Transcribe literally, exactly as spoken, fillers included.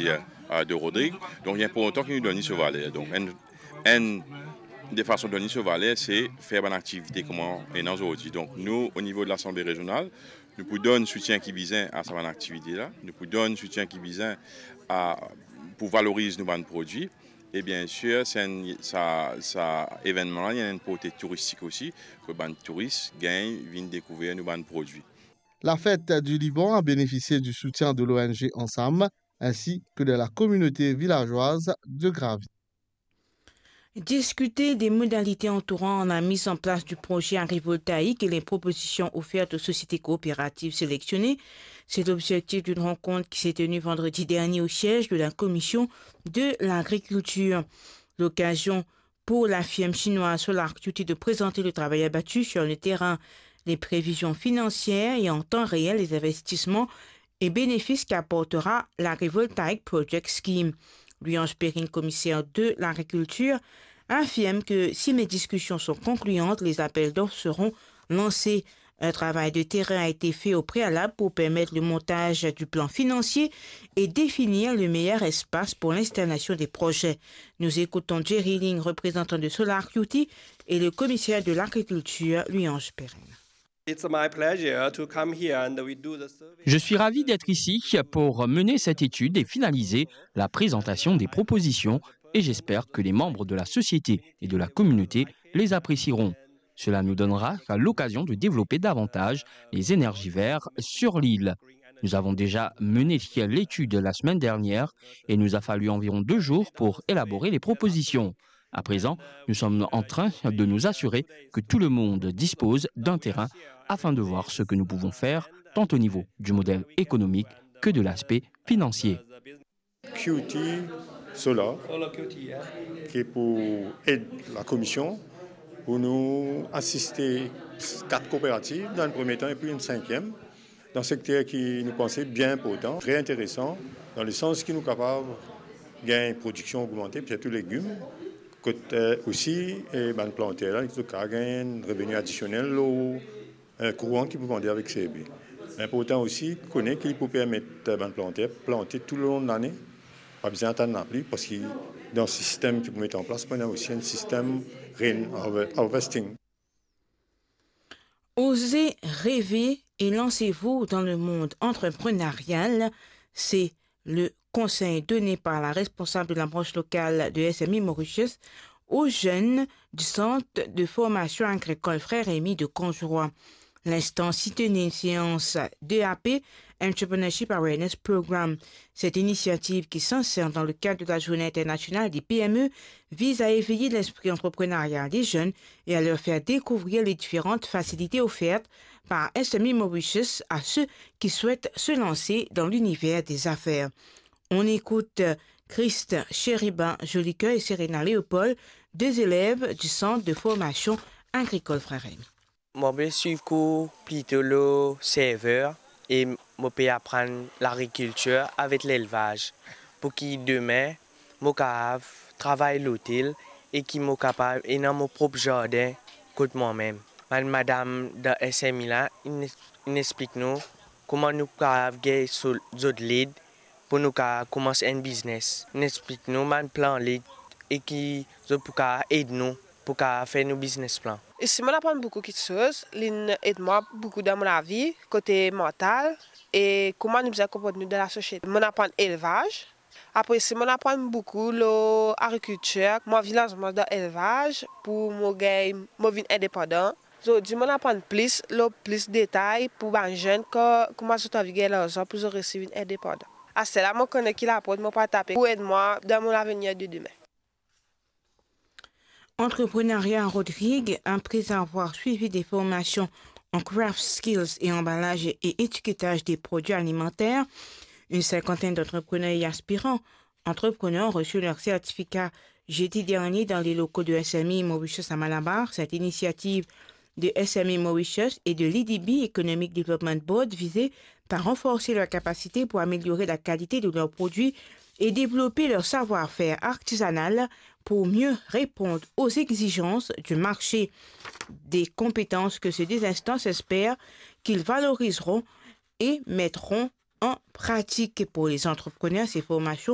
euh, de Rodrigue. Donc, il est important que nous donnions ce valeur. Donc, un, un des façons de donner ce valeur, c'est faire une activité comme on est aujourd'hui. Donc, nous, au niveau de l'Assemblée régionale, nou pou donn soutien ki bizin a sa bann aktivite la, nou pou donn soutien ki bizin a, pou valoriz nou bann prodwi. E bien sir, se enn, sa, sa evennman la, li ena enn porte touristik osi, pou bann touris gagn vinn dekouver nou bann prodwi. La fête du Liban a bénéficié du soutien de l'O N G Ensam ainsi que de la communauté villageoise de Gravy. Discuter des modalités entourant la mise en place du projet agrivoltaïque et les propositions offertes aux sociétés coopératives sélectionnées, c'est l'objectif d'une rencontre qui s'est tenue vendredi dernier au siège de la Commission de l'Agriculture. L'occasion pour la firme chinoise Solar Q T de présenter le travail abattu sur le terrain, les prévisions financières et en temps réel les investissements et bénéfices qu'apportera l'Agrivoltaic Project Scheme. Louis-Ange Perrine, commissaire de l'agriculture, affirme que si les discussions sont concluantes, les appels d'offres seront lancés. Un travail de terrain a été fait au préalable pour permettre le montage du plan financier et définir le meilleur espace pour l'installation des projets. Nous écoutons Jerry Ling, représentant de Solar Q T, et le commissaire de l'agriculture, Louis-Ange Perrine. It's my pleasure to come here and we do the survey. Je suis ravi d'être ici pour mener cette étude et finaliser la présentation des propositions, et j'espère que les membres de la société et de la communauté les apprécieront. Cela nous donnera l'occasion de développer davantage les énergies vertes sur l'île. Nous avons déjà mené l'étude la semaine dernière et il nous a fallu environ deux jours pour élaborer les propositions. À présent, nous sommes en train de nous assurer que tout le monde dispose d'un terrain afin de voir ce que nous pouvons faire, tant au niveau du modèle économique que de l'aspect financier. Q T Solar, ki pou ed la komision pou nou asiste kat kooperativ dan enn premie tan epi enn sinkiem, dan sekter ki nou panse bien inportan, tre interesan, dan lesans ki nou kapav gagn prodiksion ogmante, sirtou legim, kot, eh, osi, eh, bann planter la, zot kapav gagn enn reveni adisionel lor, eh, kouran ki pou vande avek serbi. Inportan osi, kone ki li pou permet, eh, bann planter plante toulong lane, pa bizin atann lapli, parski dan sistem ki pou met an plas, pou ena osi enn sistem rain harve-, harvesting. Oser rêver et lancez-vous dans le monde entrepreneurial, c'est le conseil donné par la responsable de la branche locale de S M I Mauritius aux jeunes du centre de formation agricole Frères Rémy de Cangeroi. L'instance y tenait une séance de A P, Entrepreneurship Awareness Program. Cette initiative, qui s'insère dans le cadre de la Journée internationale des P M E, vise à éveiller l'esprit entrepreneurial des jeunes et à leur faire découvrir les différentes facilités offertes par S M I Mauritius à ceux qui souhaitent se lancer dans l'univers des affaires. On écoute Christ Chérubin Jolicoeur et Serena Léopold, deux élèves du centre de formation agricole Frères Rémy. Mo pe swiv kour plito lor server e mo pe aprann lagrikiltir avek lelvaz, pou ki demin mo kapav travay lotel e ki mo kapav ena mo prop zardin kot mwa mem. Bann madam dan S M I la, inn, inn explik nou kouma nou kapav gagn so-, zot led pou nou kapav koumans enn biznes. Inn explik nou bann plan led e ki zot pou kapav ed nou pou kapav fer nou biznes plan. Isi, mo'nn aprann boukou kiksoz, li'nn ed mwa boukou dan mo lavi, kote mantal, e kouma nou bizin konport nou dan lasosiete. Mo'nn aprann elvaz. Apre isi, mo'nn aprann boukou lor agrikiltir. Mo anvi lans mwa dan elvaz pou mo gagn, mo vinn indepandan. Zordi, mo'nn aprann plis lor plis detay pou bann zenn, ko-, kouma zot anvi gagn larzan pou zot resi vinn indepandan. Aster la, mo kone ki laport mo pou al tape pou ed mwa dan mo lavenir de demin. Entrepreneuriat Rodrigue, après avoir suivi des formations en craft skills et emballage et étiquetage des produits alimentaires, une cinquantaine d'entrepreneurs et aspirants entrepreneurs ont reçu leur certificat jeudi dernier dans les locaux de S M I Mauritius à Malabar. Cette initiative de S M I Mauritius et de l'E D B, Economic Development Board, visait à renforcer leur capacité pour améliorer la qualité de leurs produits et développer leur savoir-faire artisanal pour mieux répondre aux exigences du marché. Des compétences que ces deux instances espèrent qu'ils valoriseront et mettront en pratique. Pour les entrepreneurs, ces formations